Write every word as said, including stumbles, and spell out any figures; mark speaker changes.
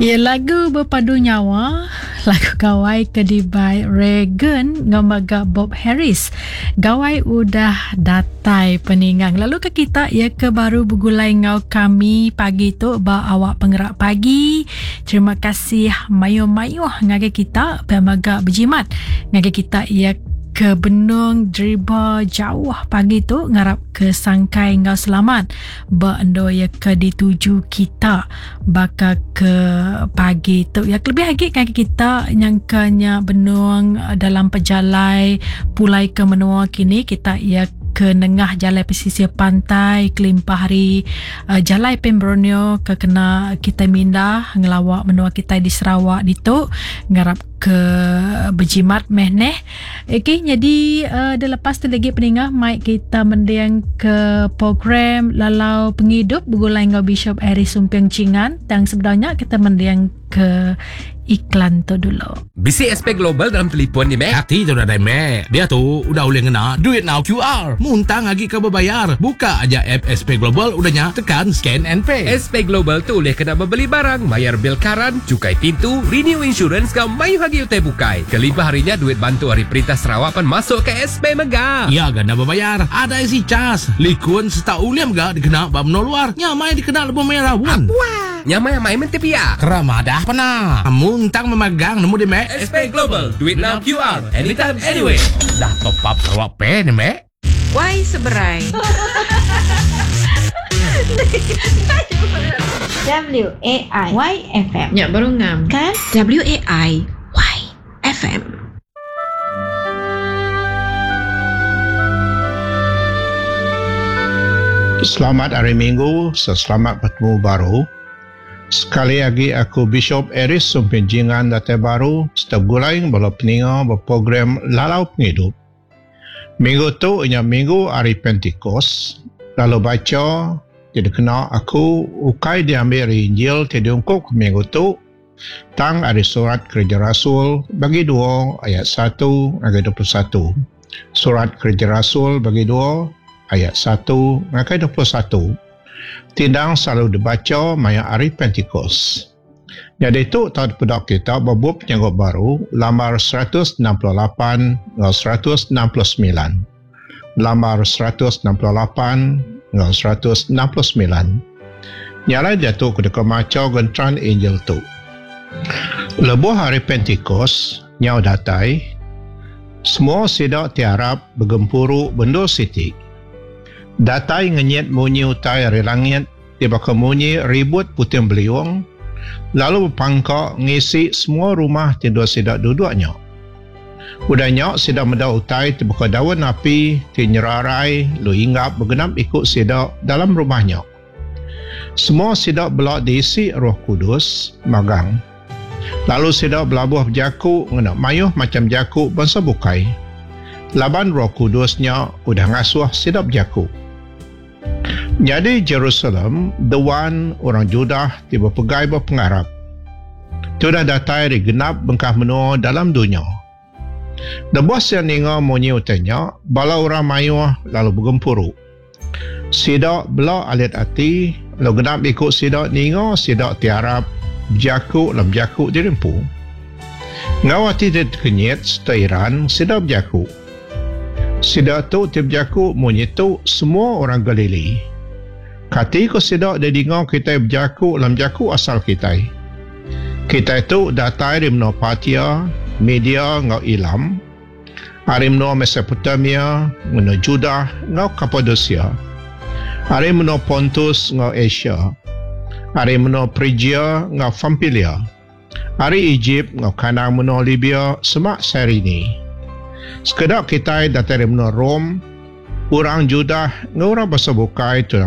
Speaker 1: Ya lagu bepadu nyawa, lagu gawai ke dibai Reagan enggau mega Bob Harris. Gawai udah datai peningang. Lalu ke kita ya ke baru begulai enggau kami pagi tu ba awak pengerak pagi. Terima kasih mayuh-mayuh ngagai kita pia mega bejimat ngagai kita ya ke benung deriba jauh pagi tu ngarap ke sangkai enggau selamat ba endur ya ke dituju kita baka ke pagi tu ya kelebih agi ngagai kita nyangka nya benung dalam pejalai pulai ke menua kini kita ya ke nengah jalai pesisir pantai kelimpah hari uh, jalai Pan Borneo ke kena kita mindah ngelawak menua kita di Sarawak ditu ngarap ke berjimat meh neh. Okey jadi uh, dah lepas tu lagi peningah mic kita mending ke program Lalau Pengidup begulai enggau Bishop Aris Sumping Chingan. Tang sebenarnya kita mending ke iklan tu dulu.
Speaker 2: Bisi S P Global dalam telefon ni, Mek.
Speaker 3: Hati tu dah dah, Mek. Dia tu udah boleh ngena duit now Q R. Muntang lagi ke berbayar. Buka aja app S P Global, udahnya tekan scan and pay.
Speaker 2: S P Global tu boleh kena membeli barang, bayar bil karan, cukai pintu, renew insurance kau mayu lagi utai bukai. Kelimpah harinya duit bantu hari perintah Sarawak pan masuk ke S P Mega.
Speaker 3: Ya ganda berbayar. Ada isi cas. Likun serta uliam ga dikena ba menua luar. Nyamai dikena lebih merah pun.
Speaker 2: Wah. Nyamai amai mentepia.
Speaker 3: Kerama dah pernah. Muntang memegang nemu di Mek.
Speaker 2: S P Global, duit now Q R, anytime, anyway.
Speaker 3: Dah top up Sarawak Pay ni, Mek.
Speaker 4: Why seberai?
Speaker 5: W A I Y F M.
Speaker 4: Ya, baru ngam.
Speaker 5: Kan?
Speaker 4: W A I Y F M.
Speaker 6: Selamat hari Minggu, selamat bertemu baru. Sekali lagi aku Bishop Aris Sumpin Jingan datai baru setiap gulai bala peninga berprogram Lalau Pengidup. Minggu tu ianya minggu hari Pentikos. Lalu baca tidak kena aku ukai diambil dari Injil tidak diungkup ke minggu tu. Tang ada surat Kerja Rasul bagi dua ayat satu hingga dua puluh satu. Surat Kerja Rasul bagi dua ayat satu hingga dua puluh satu. Tindang selalu dibaca maya hari Pentikos. Jadi itu tahun pedak kita berbub penyanggup baru lambar seratus enam puluh lapan hingga seratus enam puluh sembilan. Lambar seratus enam puluh lapan hingga seratus enam puluh sembilan. Nyalai dia tu kedeka maca gentran Injil tu. Lebuh hari Pentikos nyau datai, semua sidak tiarap bergempuru bendo siti. Datai ngenyit munyi utai ari langit, tiba ke munyi ribut puting beliung, lalu berpangkak ngisi semua rumah tidur sidak duduknya. Udahnya sidak meda utai tiba ke daun api, ti nyerarai, lu inggap bergenap ikut sidak dalam rumahnya. Semua sidak belak diisi Roh Kudus, magang. Lalu sidak belabuh berjaku ngena mayuh macam jaku bangsa bukai. Laban Roh Kudusnya udah ngasuh sidak berjaku. Jadi Jerusalem, dewan orang Judah tiba pegai berpengarap. Sudah datai di genap bengkah menua dalam dunia. Debuah siang ninga munyi utanya, bala orang mayuh lalu bergempuru. Sidak bela alit ati, lalu genap ikut sidak ninga sidak tiarap, berjaku dalam berjaku dirempu. Ngau ati terkenyit setairan sidak berjaku. Sidak tu tiap berjaku munyi tu semua orang Galili. Kati ko sidak dia dengar kita berjaku dalam jaku asal kita. Kita tu datai dari menua Parthia, Media ngau Ilam, ari menua Mesopotamia, menua Judah ngau Kapadosia, ari menua Pontus ngau Asia, ari menua Phrygia ngau Pamfilia, ari Egypt ngau kandang menua Libya semak Cyrene. Sekedak kita datai dari menua Rom, orang Judah ngau orang bangsa bukai tu